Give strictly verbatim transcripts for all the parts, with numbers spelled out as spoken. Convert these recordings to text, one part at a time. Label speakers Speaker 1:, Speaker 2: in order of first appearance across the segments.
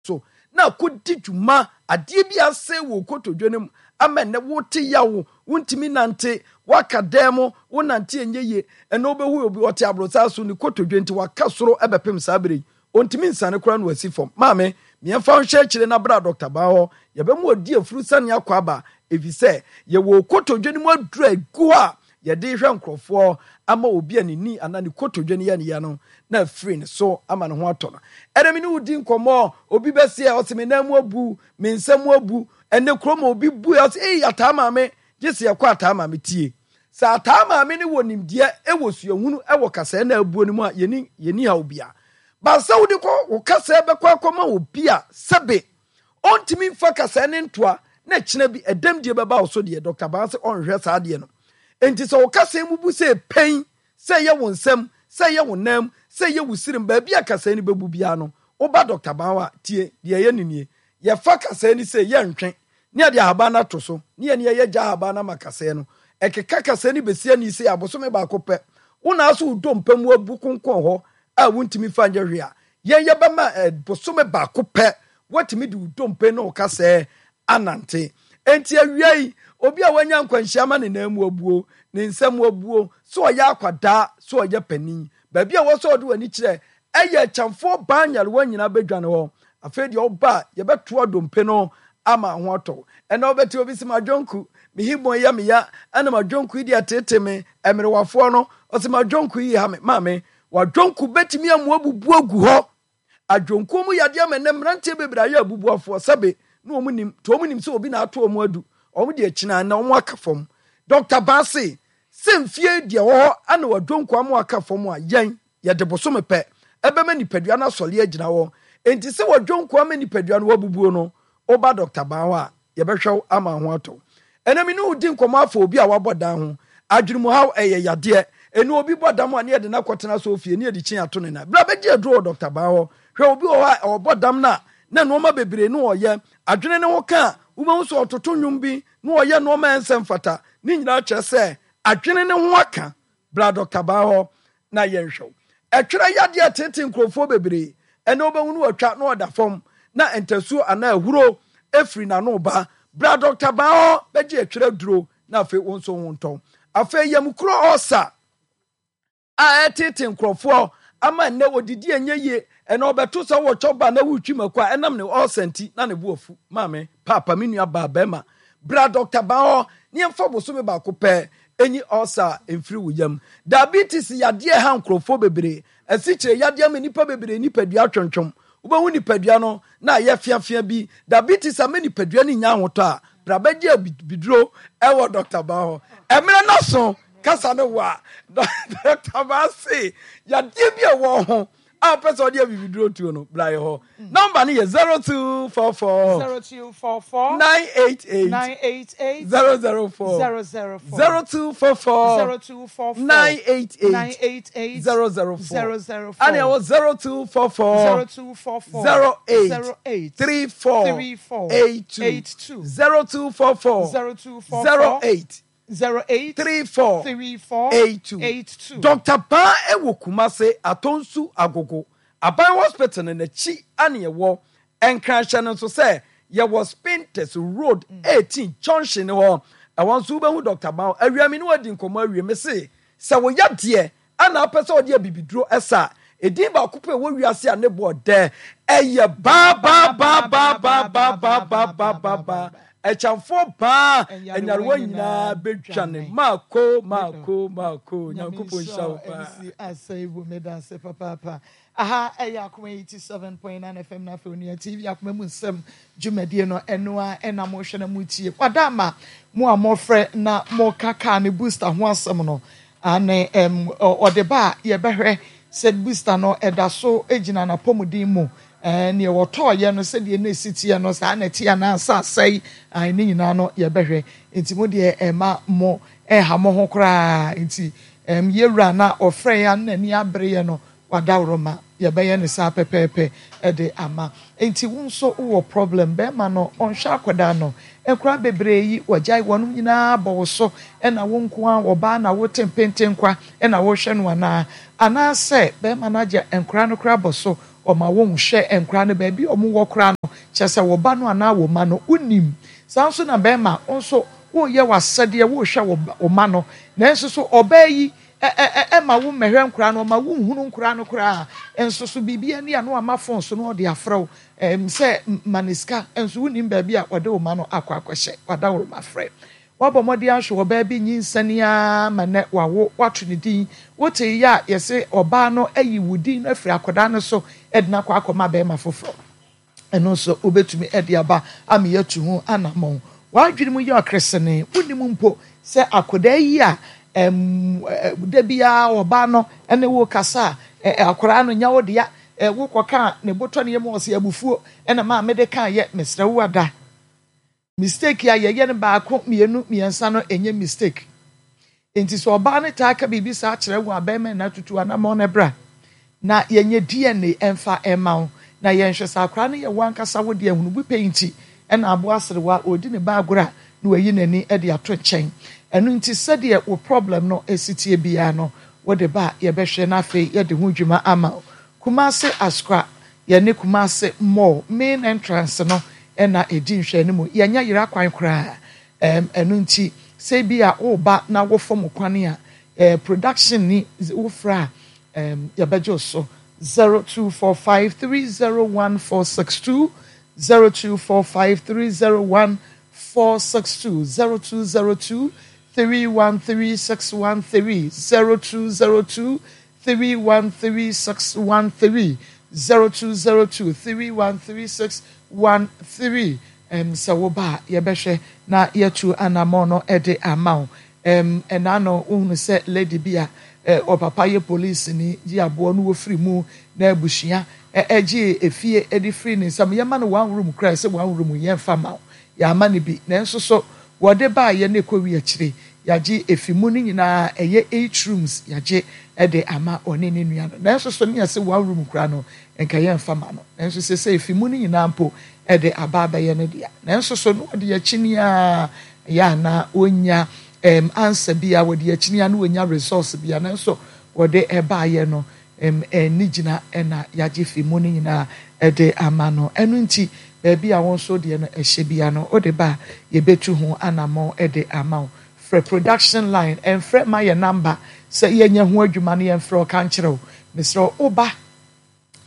Speaker 1: So na akɔdi dwuma adeɛ bi asɛe wɔ kotodwe no mu ama ɛnɛ wote yawo, wontumi nante, woaka dan mu, wonante ɛnyɛ yie. Ɛnɛ wobɛhu obi ɔte aborosaa so, ne kotodwe nti waka soro ɛbɛpem saa berɛ yi, ɔntumi nsane koraa na wasi fam. Maame, mmiɛmfa nhyɛ akyire na bra Doctor Baa hɔ, yɛbɛmu ɔdi afuru sane akɔ aba, ɛfiri sɛ yɛwɔ kotodwe no mu aduru a ɛgu hɔ a yɛde hwɛ nkurɔfoɔ ama obi a ne ni anaa ne kotodwe no yɛ ne ya no na afiri ne so ama ne ho atɔ no. Ɛnɛ me ne wo di nkɔmmɔ, obi bɛseɛ ɔse me nan mu abu, me nsa mu abu. Ɛnɛ kurom obi bu ɔse ei ataa maame, gye sɛ yɛkɔ ataa maame tie. Sɛ ataa maame ne wɔ nimdeɛ ɛwɔ suahunu ɛwɔ kasɛɛ na abuo no mu a, yɛni yɛni ha obia. Ba sɛ wode kɔ wo kasɛɛ bɛkɔ akɔma obi a sɛbe ɔntumi mfa kasɛɛ ne ntoa na kyena bi ɛdɛm die bɛba wo so deɛ, Doctor Baa sɛ ɔnhwɛ saa deɛ no. Enti sɛ wo kasɛɛ mu bu sɛ pɛn, sɛ ɛyɛ wo nsɛm, sɛ ɛyɛ wo nam, sɛ ɛyɛ wo sirim, baabi a kasɛɛ no bɛbu biara no, woba Doctor Baa hɔ a, tie deɛ ɛyɛ no nie. Yɛfa kasɛɛ no sɛ yɛntwe, ne yɛde ahaban no ato so, ne yɛne yɛyɛ gya ahaban no ama kasɛɛ no. Ɛkeka kasɛɛ no bɛsi ani sɛ abosome baako pɛ. Wo na aso wo dompa mu abu konkɔn hɔ a wontumi fa nyɛ hwee a, yɛn yɛbɛma bosome baako pɛ woatumi de wo dompe ne wo kasɛɛ anante. Enti awia yi, obi a wanya nkwanhyia ma ne nan mu abuo, ne nsa mu abuo, sɛ ɔyɛ akwadaa, sɛ ɔyɛ panin, baabi a wɔ sɛ ɔde w'ani kyerɛ ɛyɛ Akyamfoɔ baa nyarewa nyinaa bɛdwane hɔ. Afei deɛ ɔba a, yɛbɛtoa dompe no ama ho atɔ. Ɛnna wobɛte obi sɛ madwonku, me hibɔn yɛ me ya, ɛna madwonku yi deɛ tete me, mmerewafoɔ no, ɔsɛ madwonku yi ha me. Maame, wadwonku bɛtumi amu abubu agu hɔ. Adwonkuo mu yadeɛ ama ɛnɛ mmeranteɛ bebree ayɛ abubuafoɔ sɛbe na wɔn nim, nti wɔn nim sɛ obi na ato wɔn adu, wɔn deɛ kyina na wɔn aka fam. Doctor Baase, sɛ mfie deɛ wɔ hɔ ana wadwonku ama aka fam a, yɛn yɛde bosome pɛ ɛbɛma nipadua no asɔre agyina hɔ. Enti sɛ wadwonku ama nipadua no wabubuo no, woba Doctor Baa hɔ a, yɛbɛhwɛ wo ama ho atɔ. Ɛnɛ me ne wo di nkɔmmɔ afa obi a wabɔ dan ho. Adwenemuhaw ɛyɛ yadeɛ. Ɛnu obi bɔ dam a ne yɛde no akɔtena so ofie ne yɛde kyin ato ne nan. Bra bɛgye aduro wɔ Doctor Baa hɔ. Hwɛ obi wɔ hɔ a ɔbɔ dam no a na nneɛma bebree ne ɔyɛ. Adwene ne ho ka a wobɛhu sɛ ɔtoto nnwom bi na ɔyɛ nneɛma a ɛnsɛ mfata. Ne nyinaa kyerɛ sɛ adwene ne ho aka. Bra Doctor Baa hɔ na yɛnhwɛ wo. Ɛtwerɛ yadeɛ tete nkurɔfoɔ bebree. Ɛnɛ wobɛhu no watwa na ɔda fam na ntasuo anaa ahuro efiri n'ano ba. Bra Doctor Baa hɔ bɛgye ɛtwerɛ aduro na afei wo nso ho ntɔn. Afei yamukuro ɔsa a ɛtete nkurɔfoɔ ama nnɛ odidi ɛnyɛ yie. Ɛnɛ ɔbɛto sɛ wɔ chop bar na wotwi mako a ɛnam ne ɔsa nti na ne bo afu. Maame, paapa, me nua baa bɛrima, bra Doctor Baa hɔ ne yɛmfa bosome baako pɛ enyi ɔsa mfiri wo yam. Diabetes yadeɛ ha nkurɔfoɔ bebree. Asikyire yadeɛ ama nnipa bebree nipadua twentwom. Wobɛhu nipadua no na ayɛ fiafia bi. Diabetes ama nipadua no nya ahotɔ a, bra bɛgye abiduro ɛwɔ Doctor Baa hɔ. Ɛmmerɛ no so kasa no wɔ a, Doctor Baa se yadeɛ bi a ɛwɔ ho a wopɛ sɛ ɔde abibiduro tuo no, bra yɛ hɔ. Nɔmba no yɛ zero two four four
Speaker 2: zero two four four
Speaker 1: nine eight eight
Speaker 2: nine eight eight
Speaker 1: zero zero four
Speaker 2: zero zero four
Speaker 1: zero two four four
Speaker 2: zero two four four
Speaker 1: nine eight eight
Speaker 2: nine eight eight
Speaker 1: zero zero four
Speaker 2: zero zero four
Speaker 1: ɛna ɛwɔ zero two four four
Speaker 2: zero two four four
Speaker 1: zero eight
Speaker 2: zero eight
Speaker 1: three four
Speaker 2: three four
Speaker 1: eight two
Speaker 2: eight two
Speaker 1: zero two four four
Speaker 2: zero two four
Speaker 1: zero
Speaker 2: four
Speaker 1: eight
Speaker 2: zero eight
Speaker 1: three four
Speaker 2: three four
Speaker 1: eight two
Speaker 2: eight two.
Speaker 1: Doctor Baa ɛwɔ Kumase Atonsu Agogo Aban Hospital no n'akyi ane ɛwɔ Nkranhyɛ no nso sɛ yɛwɔ Spintex Road eighteen junction hɔ. Ɛwɔ nso wobɛhu Doctor Baa awia mi ne wadi nkɔmmɔ awie. Me se sɛ woyɛ deɛ ana apɛ sɛ ɔde abibiduro ɛsa edin baako pɛ wɔ wiase a ne boɔ dɛ ɛyɛ baa baa baa baa baa baa baa baa baa baa baa ɛkyɛnfoɔ baa ɛnyarewa nyinaa bɛdwane. Maako maako maako Nyankopɔn nhyira wo paa.
Speaker 2: Asɛe bu meda ase papaapa. Aha ɛyɛ Akoma eighty seven point nine F M na afei Onua T V Akoma mu nsɛm dwumadie no ɛno a ɛna mohwɛ na motie. Wada ama mo a mofrɛ na moka kaa ne booster ho asɛm no ane ɛm ɔde ba a yɛbɛhwɛ sɛ booster no ɛda so gyina n'apɔmuden mu. Ɛɛ nea wɔtɔɔyɛ no sɛdeɛ na esi teɛ no saa na ɛte anaasɛ asɛe ae ne nyinaa no yɛbɛhwɛ. Nti mo deɛ ɛma mo ɛha mo ho koraa. Nti ɛm yɛwura na ɔfrɛ yɛn na n'ani abere yɛ no wadaworo ma yɛbɛyɛ ne saa pɛpɛɛpɛ ɛde ama. Nti wo nso wowɔ problem bɛrima no ɔnhwɛ akwadaa no nkwadaa bebree yi wɔgyae wɔn nyinaa bɔ wo so ɛna wo nko ara wɔbaa na wote mpentenkwa ɛna wohwɛ no anaa anaasɛ bɛrima no agye nkwadaa no koraa bɔ so ɔma wɔn hwɛ nkwadaa no baabi a wɔn wɔ koraa no Kyerɛ sɛ wo ba no anaa wo mma no, wonnim. Saa nso na barima, wo nso woreyɛ w'asɛdeɛ, worehwɛ wo mma no, nanso so ɔbaa yi mma wo mmɛhwɛ nkoraa no, ɔma wonhunu nkoraa no koraa, nso so biribi ani a na wama fon so na ɔde afrɛ wo sɛ ma no sika, nso wonnim baabi a ɔde wo mma no akɔ akɔhyɛ. W'adaworoma frɛ. Woabɔ mmɔden ahwɛ ɔbaa bi nyinsɛn ara ma nnɛ wawo, woato ne din. Wotee yɛ a yɛse ɔbaa no ayi wo din no afiri akwadaa no so de no akɔ akɔma barima foforɔ. Ɛno nso wobɛtumi de aba ama yɛatu ho anammɔn. W'adwene mu yɛ ɔkeresenee, wonnim mpo sɛ akwadaa yi a da biara ɔbaa no ne wo kasa a, akwadaa no nyɛ wo dea, wokɔka ne botɔ ne yam ɔsɛ abufuo ɛna maa mede kaeɛ, mesrɛ wo ada. Mistake a yɛyɛ no baako, mmienu, mmiɛnsa no ɛnyɛ mistake. Enti sɛ ɔbaa no taa ka biribi saa kyerɛ wo a, bɛrima nna tutu anammɔn na bra na yɛnyɛ D N A ɛmfa ɛma wo na yɛnhwɛ sɛ akwadaa no yɛ wo ankasa wo deɛ. Hunubu pɛ nti ɛna aboa aserewa ɔredi ne ba agorɔ a na wayi n'ani de ato nkyɛn. Ɛno nti sɛdeɛ wo problem no esi tie biara no, wode ba a yɛbɛhwɛ na afei yɛde ho dwuma ama wo. Kumase Asokwa, yɛne Kumase Mall main entrance no ɛna ɛdi nhwɛne mu. Yɛnyɛ yera kwan koraa. ɛm ɛno nti sɛ bi a woba na wofam kwan a ɛɛ production ni wofra a ɛm yɛbɛgye wo so zero two four five three zero one four six two, zero two four five three zero one four six two, zero two zero two three one three six one three, zero two zero two three one three six one three, zero two zero two three one three six one three. ɛm sɛ woba a yɛbɛhwɛ na yɛtu anammɔn no de ama wo. ɛm ɛna no wohunu sɛ lady bi a ɛ ɔpapa yɛ polisi ni gye aboɔ no wɔfiri mu na abusua ɛ ɛgye efie ɛde firi ne nsam. Yɛma no one room koraa sɛ one room yɛmfa ma wo, yɛama no bi, nanso so wɔde baayɛ no ɛkɔ wi akyire yɛagye efi mu no nyinaa, ɛyɛ eight rooms, yɛagye ɛde ama ɔne ne nua no, nanso so ne yɛsɛ one room koraa no nka yɛmfa ma no, nanso sɛ sɛ efi mu no nyinaa mpo ɛde aba abɛyɛ no dea, nanso so no wɔde akyi nia yɛ ana onya ɛm answer bi a wɔde akyi nia na onya resource bi a, nanso wɔde ɛbaayɛ no ɛm ɛni gyina ɛna yɛagye fi mu no nyinaa ɛde ama no. Ɛno nti baabi a wɔn nso deɛ no ɛhyɛ bia no, ɔde ba a yɛbɛtu ho anammɔn ɛde ama wo. Frɛ production line, ɛnfrɛ ma yɛ number sɛ yɛnyɛ ho adwuma no, yɛnfrɛ ɔka nkyerɛ wo. Mesrɛ wo ba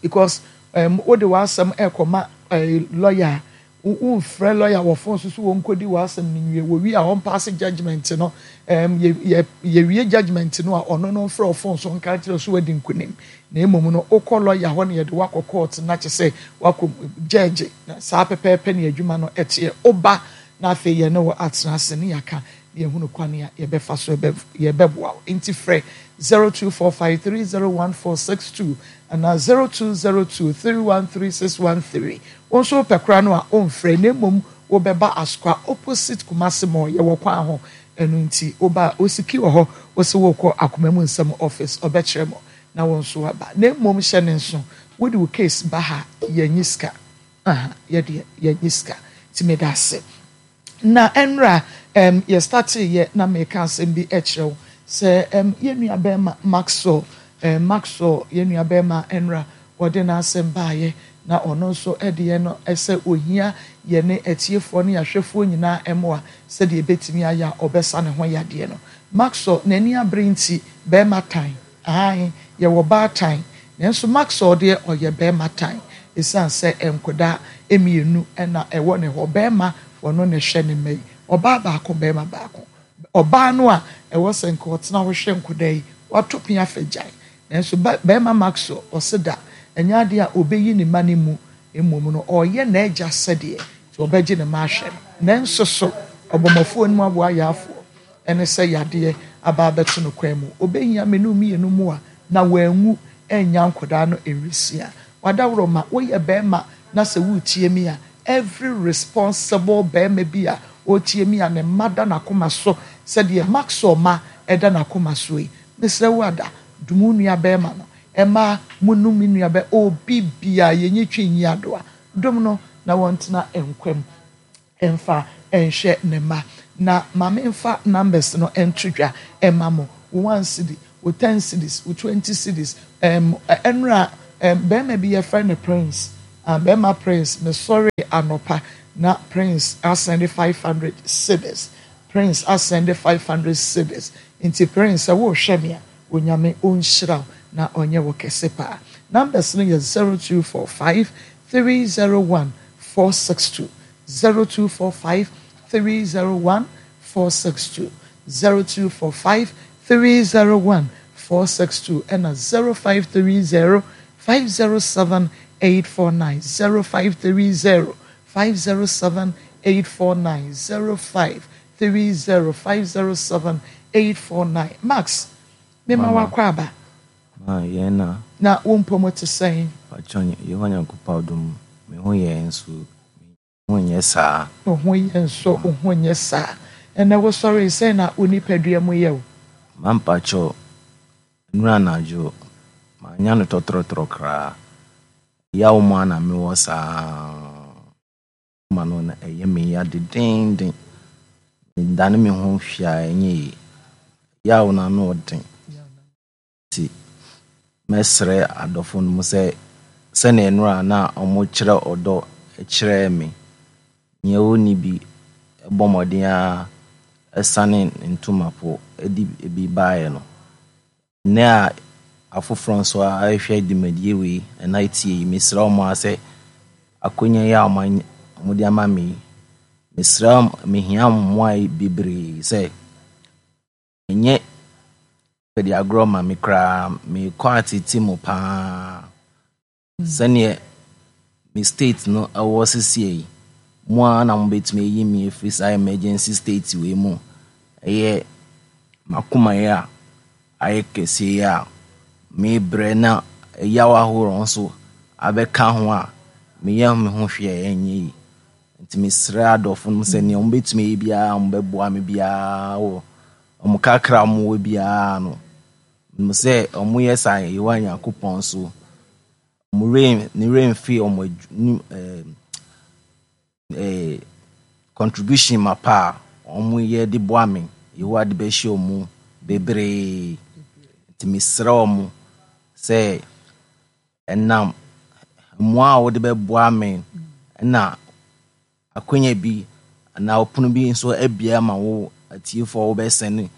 Speaker 2: because um, wode w'asɛm ɛkɔma uh, lawyer, womfrɛ lawyer wɔ phone so so wɔnkɔdi w'asɛm no nwie, wɔwie a ɔmpaase judgement no. um, yɛwie judgement no a, ɔno no mfrɛ wɔ phone so nka kyerɛ so wadi nkonim, na mmom no wokɔ lawyer hɔ na yɛde wakɔ court na kyɛ sɛ wakɔ judge na saa pɛpɛɛpɛ ne adwuma no ɛteɛ. Woba na afei yɛne wɔ atena ase ne yɛaka na yɛhunu kwan a yɛbɛfa so yɛbɛboa wo. Nti frɛ zero two four five three zero one four six two anaa zero two zero two three one three six one three. Wɔn nso wopɛ koraa no a ɔmfrɛ, na mmom wobɛba Asokwa opposite Kumase Mall, yɛwɔ kwan ho. Ɛno nti woba osiki wɔ hɔ, wɔsɛ wɔkɔ Akoma Mu Nsɛm office, ɔbɛkyerɛ mo na wɔn nso aba. Na mmom hyɛ ne nso, wode wo case ba ha, yɛnyi sika aha, yɛdeɛ yɛnyi sika. Nti meda ase na ɛnra um, yɛ start yɛ na meka asɛm bi kyerɛ wo sɛ um, yɛn nua bɛrima Maxwell, um, Maxwell yɛn nua bɛrima, ɛnra wɔde n'asɛm baayɛ na ɔno nso deɛ no sɛ ohia yɛne atiefoɔ ne ahwɛfoɔ nyinaa mmoa sɛdeɛ ebɛtumi ayɛ a ɔbɛsa ne ho yadeɛ no. Maxwell n'ani abere nti bɛrima tan ahan, yɛwɔ baatan, nanso Maxwell deɛ ɔyɛ bɛrima tan ɛsiane sɛ nkwadaa mmienu ɛna ɛwɔ ne hɔ. Bɛrima wɔno na ɛhwɛ ne mma yi, ɔbaa baako, bɛrima baako. Ɔbaa no a ɛwɔ sɛ nka ɔtena hɔ hwɛ nkwadaa yi wato pia fɛ gyae, nanso bɛrima Maxwell ɔse da ɛnyɛ adeɛ a ɔbɛyi ne ma no mu, mmom no ɔreyɛ n'agya sɛdeɛ nti ɔbɛgye ne ma ahwɛ no. Nanso so ɔbɔmmɔfoɔ no mu aboa yaafoɔ ɛne sɛ yadeɛ aba abɛto no kwan mu, ɔbɛhia mmienu mmienu mu a na wanwu ɛnya nkwadaa no nwisia. Wadaworo ma woyɛ bɛrima na sɛ woretie mi a, every responsible bɛrima bi a ɔretie mi a ne mma da n'akoma so sɛdeɛ Maxwell ma ɛda n'akoma so yi, mesrɛ wo ada dumu nua bɛrima no ɛma mu num nua bɛ obi bia yɛnyi twi nyi adoa dom no na wɔntena nkwam mfa nhwɛ ne mma. Na maame mfa numbers no nto dwa ɛma mo: wo one cedi, wo ten cedis, wo twenty cedis. ɛm ɛnura ɛm bɛrima bi yɛfrɛ no Prince, ah, bɛrima Prince, mesɔre anɔpa na Prince asɛnde five hundred cedis. Prince asɛnde five hundred cedis. Nti Prince, sɛ wohwɛ me a, Onyame ɔnhyira wo na ɔnyɛ wo kɛse paa. Numbers no yɛ zero two four five three zero one four six two, zero two four five three zero one four six two, zero two four five three zero one four six two, ɛna zero five three zero five zero seven eight four nine, zero five three zero five zero seven eight four nine, zero five three zero five zero seven eight four nine. Max, mema
Speaker 3: Mama.
Speaker 2: wakɔ aba.
Speaker 3: Ma yɛn na.
Speaker 2: Na wo mpɔmu te sɛn?
Speaker 3: Pakyɛ, Yehowa Nyankopɔn adom, me ho yɛ nso me ho nyɛ saa.
Speaker 2: Wo ho yɛ nso wo ho nyɛ saa. Ɛnɛ wosɔre sɛn na wo nipadua mu yɛ wo?
Speaker 3: Ma mpakyɛ, nnura anadwo manya no tɔtrɔtrɔ koraa. Yaw mu a na mewɔ saa ma no na ɛyɛ me ya dedenden. Medane me ho hwɛ a ɛnyɛ yie. Yaw no ano ɔden. Nti mɛsrɛ adɔfo no mu sɛ sɛnea nnura na ɔmo kyerɛ ɔdɔ kyerɛɛ me, nea ɔnni bi ɛbɔ mmɔden a ɛsane ne ntoma po ɛde ebi baeɛ no. Nnɛ a afoforɔ nso a ɛhwɛ dwumadie wei ɛna etie yi, mesrɛ ɔmo a sɛ akonnwa yi a ɔmo anya ɔmo de ama me yi, mesrɛ ɔmo, mehia mmoa yi bebree sɛ ɛnyɛ pɛde agorɔ ma me koraa. Mekɔ atete mu paa sɛneɛ me state no ɛwɔ sesie yi mo a na mobɛtumi ayi me afiri saa emergency state wei mu. Ɛyɛ makoma yi a ayɛ kɛseɛ yi a mebrɛ na ɛyaw ahorow nso abɛka ho a meyɛ me ho hwee a ɛnyɛ yi. Nti mesrɛ adɔfo no sɛ nea ɔmo bɛtumi ayi biara, ɔmo bɛboa me biara wɔ ɔmo kakra a ɔmo wɔ biara no mo sɛ ɔmo yɛ saa, Yehowa Nyankopɔn so ɔmo werɛ ne werɛ mfi ɔmo adwu ne ɛɛ ɛɛ contribution mapa a ɔmo yɛ de boa me. Yehowa de bɛhyɛ ɔmo bebree. Nti mesrɛ ɔmo sɛ ɛnam mmoa a wɔde bɛboa me ɛna akonnwa bi anaa ɔpono bi nso abue ama wo atiefoɔ a wobɛsɛne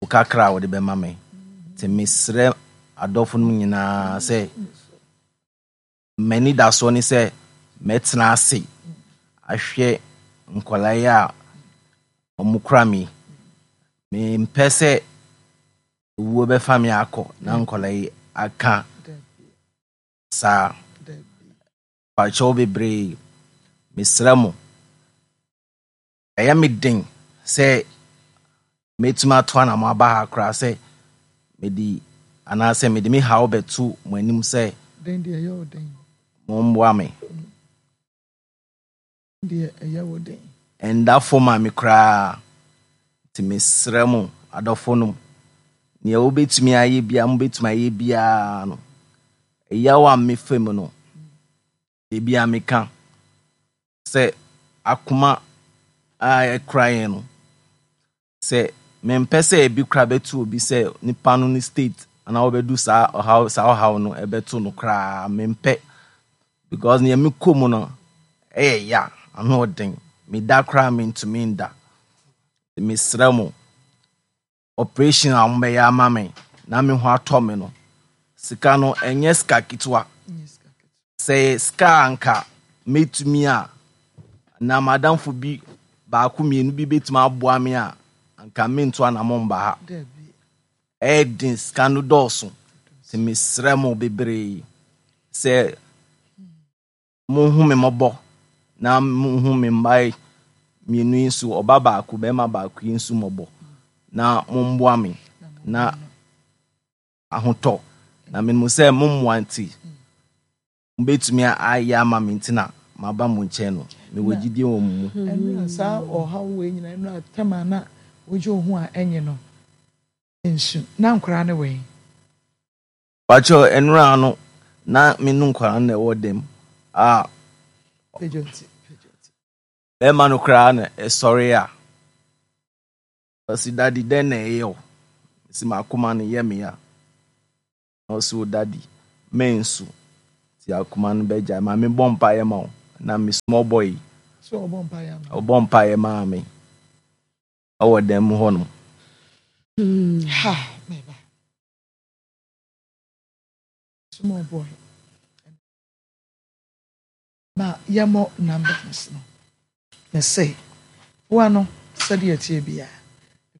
Speaker 3: wo kakra a wɔde bɛma me. Nti mesrɛ adɔfo no nyinaa sɛ m'ani da soɔ ne sɛ mɛtena ase ahwɛ nkwadaa yi a ɔmo kura me. Mempɛ sɛ owuo bɛfa me akɔ na nkwadaa yi aka saa. Pakyɛw bebree, mesrɛ mo, ɛyɛ me den sɛ mɛtumi ato anamo aba ha koraa sɛ mede anaasɛ mede me haw bɛto mo anim sɛ
Speaker 2: Den deɛ ɛyɛ wo den.
Speaker 3: Momboa me.
Speaker 2: Deɛ ɛyɛ wo den.
Speaker 3: Ɛnda fam a me koraa. Nti mesrɛ mo adɔfo no, nea wobɛtumi ayɛ biara, mobɛtumi ayɛ biara no, ɛyaw a mefa mu no, ebi a meka sɛ akoma a ɛkora yɛn no, sɛ mempɛ sɛ ebi kora bɛto obi sɛ nipa no ne state anaa wɔbɛdu saa ɔhaw saa ɔhaw no ɛbɛto no koraa mempɛ, because nea mekɔ mu no ɛyɛ ya, ano ɔden. Meda koraa mentumi nda. Mesrɛ mo, operation a wɔbɛyɛ ama me na me ho atɔ me no, sika no ɛnyɛ sika ketewa. Sɛ sika a anka mɛtumi a na madamfo bi baako mmienu bi bɛtumi aboa me a, anka mento anammɔ mba ha. Ɛyɛ den, sika no dɔɔso. Nti mesrɛ mo bebree sɛ monhu me mmɔbɔ na monhu me mma yi mmienu yi nso, ɔba baako bɛrima baako yi nso mmɔbɔ na momboa me na ahotɔ na menim sɛ mo mmoa nti mobɛtumi ayɛ ama me. Nti na maba mo nkyɛn no, mewɔ gyidie wɔ mo mu.
Speaker 2: Ɛno a saa ɔhaw wei nyinaa ɛno a tam a na wogye wo ho a ɛnye no nsu na nkoraa ne wɛn?
Speaker 3: Pakyɛ, ɛnora no na me no nkwaraa no na ɛwɔ dɛm a
Speaker 2: pagya nti, pagya nti.
Speaker 3: Bɛrima no koraa na ɛsɔre a ɔsi, "Daddy, dɛn na ɛyɛ o?" Si m'akoma no yɛ me ya. Na ɔsi, "O daddy, mensu." Ti akoma no bɛgya ma mebɔ mpaeɛ ma wo. Na me small boy.
Speaker 2: So ɔbɔ mpaeɛ ama.
Speaker 3: Ɔbɔ mpaeɛ maa me ɛwɔ dan mu hɔ nom.
Speaker 2: Ha, meba. Small boy. Ma yɛmmɔ numbers no. Na sɛ woa no sɛdeɛ ɛteɛ biara.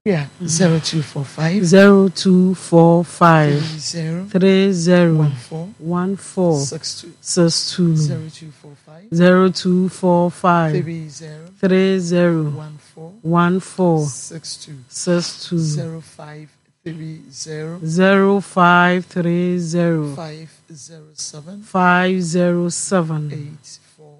Speaker 2: Yeah, zero two four five
Speaker 4: zero two four five
Speaker 2: three zero
Speaker 4: three zero
Speaker 2: one four
Speaker 4: one four
Speaker 2: six two
Speaker 4: six two
Speaker 2: zero two four five
Speaker 4: zero two four five
Speaker 2: three zero
Speaker 4: three zero
Speaker 2: one four
Speaker 4: one four
Speaker 2: six two
Speaker 4: six two
Speaker 2: zero five three zero
Speaker 4: zero five three zero
Speaker 2: five zero seven
Speaker 4: five zero seven
Speaker 2: eight four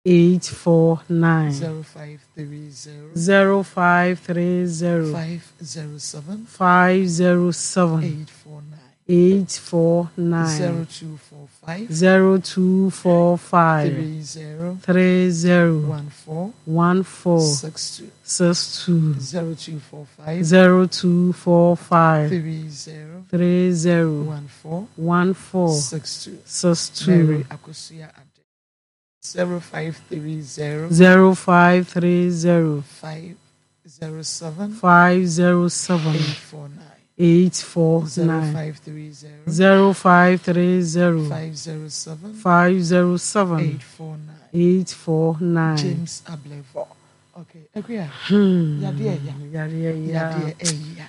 Speaker 4: eight four nine
Speaker 2: zero five three zero
Speaker 4: zero five three zero
Speaker 2: five zero seven
Speaker 4: five zero seven
Speaker 2: eight four nine
Speaker 4: eight four nine
Speaker 2: zero two four five
Speaker 4: zero two four five
Speaker 2: three zero
Speaker 4: three zero
Speaker 2: one four
Speaker 4: one four
Speaker 2: six two
Speaker 4: six two
Speaker 2: zero two four five
Speaker 4: zero two four five
Speaker 2: three zero
Speaker 4: three zero
Speaker 2: one four
Speaker 4: one four
Speaker 2: six two
Speaker 4: six
Speaker 2: Mary
Speaker 4: two
Speaker 2: Akosia Ade zero five three zero
Speaker 4: zero five three zero
Speaker 2: five zero seven
Speaker 4: five zero seven
Speaker 2: eight four nine
Speaker 4: eight four
Speaker 2: zero
Speaker 4: nine
Speaker 2: five three zero
Speaker 4: zero five three zero
Speaker 2: five zero seven
Speaker 4: five zero seven
Speaker 2: eight four nine
Speaker 4: eight four nine.
Speaker 2: James Ablevo. Okay, Akuya.
Speaker 4: Hmm.
Speaker 2: Yadeɛ ya.
Speaker 4: Yadeɛ ya.
Speaker 2: Yadeɛ ɛya.